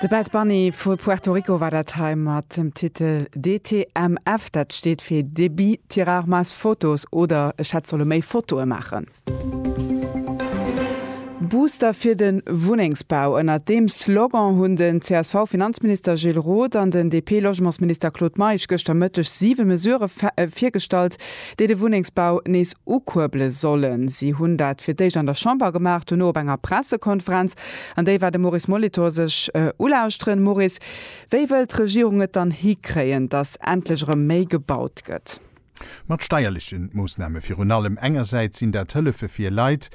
De Bad Bunny vu Puerto Rico war dat hei mat dem Titel DTMF. Dat steet fir Debí tirar más fotos oder ech hätt solle méi Fotoe maachen. Booster fir de Wunnengsbau, ënnert deem Slogan hunn den CSV-Finanzminister Gilles Roth an den DP-Logementsminister Claude Meisch gëschter Mëtteg siwe Mesurë virgestallt, déi de Wunnengsbau nees ukuerbele sollen. Si hunn dat fir d'éischt an der Chamber gemaach, dono op enger Pressekonferenz. An déi war de Maurice Molitor sech ulauschteren. Maurice, wéi wëll d'Regierung et dann hikréien, datt endlech erëm méi gebaut gëtt? Mat steierleche Moossname virun allem. Engersäits sinn dat Hëllefe fir Leit,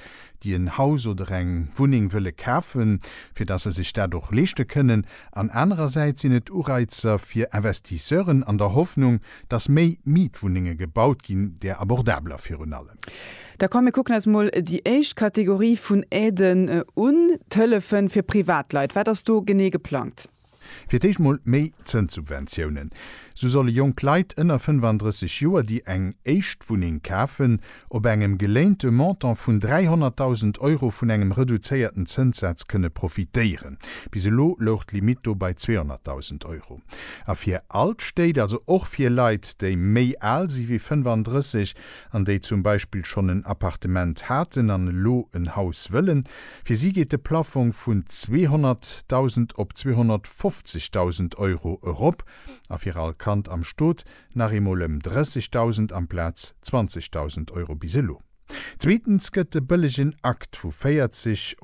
déi en Haus oder eng Wunneng wëlle kafen, fir datt se sech dat och leeschte kënnen, an anerersäits sinn et Ureizer fir Investisseuren an der Hoffnung, datt méi Mietwunnenge gebaut ginn, där abordabeler virun allem. Da komm mir kucken eis mol déi éischt Kategorie vun Aiden un, d'Hëllefe fir Privatleit. Wat ass do genee geplangt? Fir d'éischt mol méi Zënssubventiounen. Sou solle jonk Leit ënner 35 Joer, déi eng éischt Wunneng kafen, op engem geléinte Montant vun 300.000 Euro vun engem reduzéierten Zënssaz kënne profitéieren. Bis elo louch d'Limitt do bei 200.000 Euro. A fir all d'Stéit, also och fir Leit, déi méi al si wéi 35 an déi zum Beispill schonn en Appartement haten an elo en Haus wëllen, Fir si geet de Plaffong vun 200.000 op 250.000 Euro erop a fir all Kand am Stot nach eemol ëm 30.000 amplaz 20.000 Euro bis elo. Zweetens gëtt de bëllegen Akt vu 40.